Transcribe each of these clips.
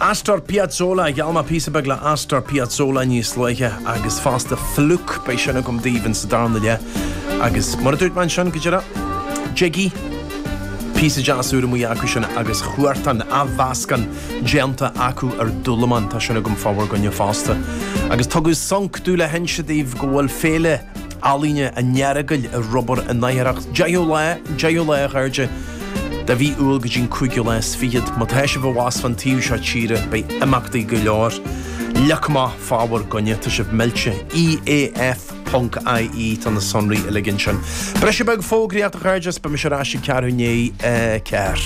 Astor Piazzolla, gheall mé píosa beag le Astor Piazzolla níos luaithe agus fosta Fluke, beidh sin agam daoibh in sa darna leath. Agus mar a dúirt mé ansin go díreach, Jiggy, píosa deas úr amuigh acu sin agus Huartan, athmheascán déanta acu ar Dúlamán, tá sin agam fá bhur gcoinne fosta. Agus tugadh sonc domh le hinse daoibh go bhfuil Féile Ealaíne an Earagail ar obair in Oidhreacht, 10ú lá, 10ú lá a chairde, de mhí Iúil go dtí an cúigiú lá is fichead. Má tá sibh abhus fán taobh seo tíre, beidh imeachtaí go leor. Leag amach fá bhur gcoinne, tá sibh millte. EAF ponc IE, tá na sonraí uilig ansin. Briseadh beag fógraíochta a chairde, is beidh mise ar ais ag ceathrú i ndiaidh a 4.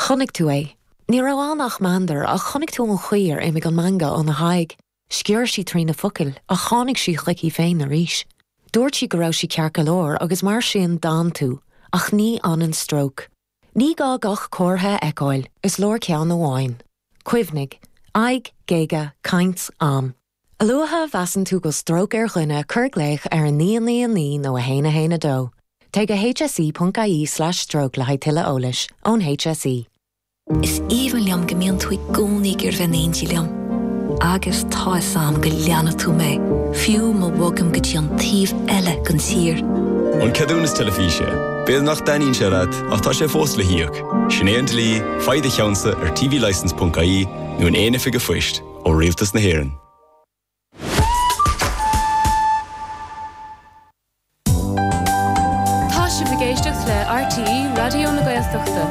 Chonaic tú é. Ní raibh ann ach meandar ach chonaic tú an chaoi ar imigh an meangadh óna haghaidh. Sciorr sí trí na focail ach tháinig sí chuici féin arís. Dúirt sí go raibh sí ceart go leor agus mar sin d'fhan tú, ach ní fhanann stróc. Ní gá gach comhartha a fheiceáil, is leor ceann amháin. Cuimhnigh, aghaidh, géaga, caint, am. A luaithe a mheasann tú go bhfuil stróc ar dhuine, cuir glaoch ar 999 nó 1 1 2. Téigh go hse.ie/stroke le haghaidh tuilleadh eolais. Ón HSE. Is aoibhinn liom go mbíonn tú i gcónaí ag iarraidh bheith in éindí liom. Agus tá 'fhios a'm go leanfaidh tú mé, fiú má bhogaim go dtí an taobh eile den tír. An ceadúnas teilifíse. B'fhéidir nach dtaitníonn sé leat, ach tá sé fós le híoc. Sin é an dlí, faigh do cheannsa ar tvlicence.ie nó in aon oifig an phoist. ó Rialtas na hÉireann. Tá sibh ag éisteacht le RTÉ Raidió na Gaeltachta.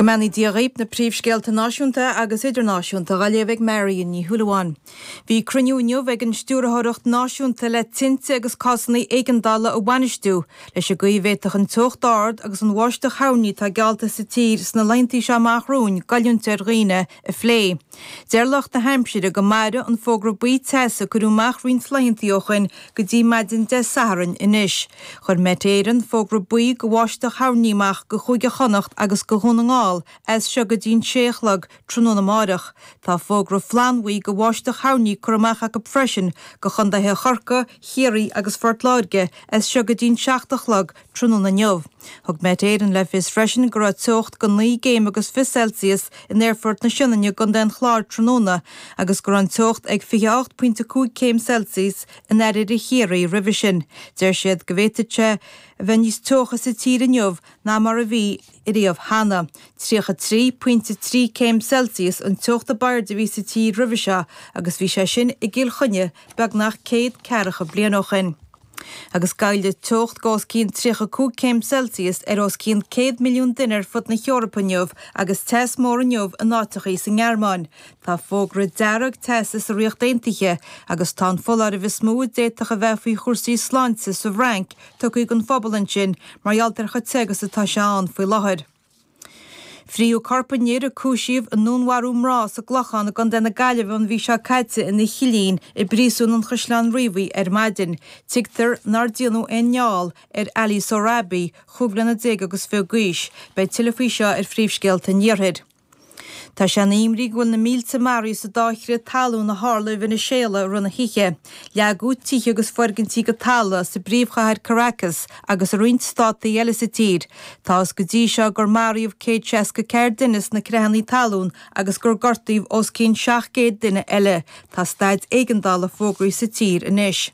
Go mbeannaí Dia dhaoibh, na príomhscéalta náisiúnta agus idirnáisiúnta á léamh ag Marion Ní Shúilleabháin. Bhí cruinniú inniu ag an Stiúrthóireacht Náisiúnta le Tinte agus Cásanna Éigeandála a Bhainistiú leis an gcaoi a bhféadfadh an teocht ard agus an bháisteach thoirní atá geallta sa tír sna laethantaí seo amach romhainn goilliúint ar dhaoine a phlé. Deir lucht na haimsire go mairfidh an fógra buí teasa a cuireadh amach roinnt laethantaí ó shoin go dtí maidin Dé Sathairn anois. Chuir Met Éireann fógra buí go bháisteach thoirní amach go Chúige Chonnacht agus go Dhún na nGall as seo go dtí an sé a chlog tráthnóna amáireach. Tá fógra flannbhuí go bháisteach thoirní curtha amach acu freisin go chontaetha Chorcaí, Chiarraí agus Phort Láirge as seo go dtí'n 7 a chlog tráthnóna inniu. Thug Met Éireann le fios freisin go raibh teocht go 9 gcéim agus 20 Celsius in Aerfort na Sionainne i gContae an Chláir tráthnóna agus go raibh an teocht ag 28.5 céim Celsius in oirthear Chiarraí roimhe sin. Deir siad go bhféadfadh sé a bheith níos teocha sa tír inniu ná mar a bhí riamh cheana. 33 pointe 3 céim Celsius an teocht ab airde a bhí sa tír roimhe seo agus bhí sé sin i gCill Chainnigh beagnach céad ceathracha bliain ó shin. Agus goillfidh teocht go os cionn 35 céim Celsius ar os cionn 100 milliún duine ar fud na hEorpa inniu agus teas mór inniu in áiteachaí sa nGearmáin. Tá fógra dearg teasa sa Ríocht Aontaithe agus tá an foláireamh is mó a d'fhéadfadh a bheith faoi chúrsaí sláinte sa bhFrainc tugtha don phobal ansin mar gheall ar chomh te agus atá sé ann faoi láthair. Frítheadh corp an fhir a cúisíodh i ndúnmharú mná sa gClochán i gContae na Gaillimhe an mhí seo caite ina chillín i bPríosún an Chaisleáin Riabhaigh ar maidin. Tuigtear nár déanadh aon fheall ar Ali Sohrabi, 25 bliana agus d'aois. Beidh tuilleadh faoi seo ar Phríomhscéalta an Iarthair. Tá sé ina imní go bhfuil na mílte maraithe sa dá chrith talún a tharla i Veiniséala i rith na hoíche. Leagadh tithe agus foirgintí go talamh sa bpríomhchathair Caracas agus i roinnt státaí eile sa tír. Tá fhios go dtí seo gur maraíodh 164 duine sna creathanna talún agus gur gortaíodh os cionn 700 duine eile. Tá staid éigeandála fógraithe sa tír anois.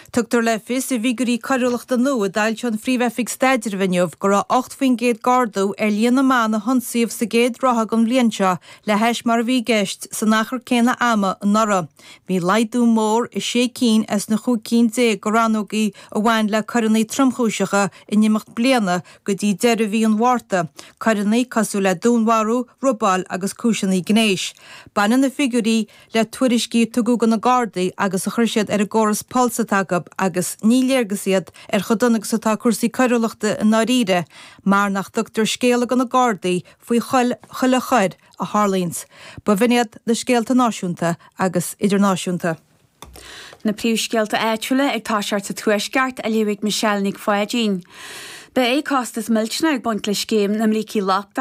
Tugtar le fios i bhfigiúirí coiriúlachta nua a d'fhoilsigh an Phríomh-Oifig Staidrimh inniu go raibh 8% d'ardú ar líon na mban a hionsaíodh sa gcéad ráithe den bhliain seo le hais mar a bhí i gceist san achar céanna ama anuraidh. Bhí laghdú mór i sé cinn as na chúig cinn déag de rannógaí a bhain le coireanna tromchúiseacha in imeacht bliana go dtí deireadh mhí an Mhárta, coireanna cosúil le dúnmharú, robáil agus cúiseanna gnéis. Baineann na figiúirí le tuairiscí a tugadh do na Gardaí agus a chuir siad ar an gcóras Pulse atá acu agus ní léargas iad ar chomh dona agus atá cúrsaí coiriúlachta i ndáiríre mar nach dtugtar scéala do na Gardaí faoi chuile choir a tharlaíonns. B'in iad na scéalta náisiúnta agus idirnáisiúnta. Na príomhscéalta áitiúla ag toiseacht sa Tuaisceart á léamh ag Michelle Nic Pháidín. Beidh costas millteanach ag baint le scéim na mbrící lochtacha.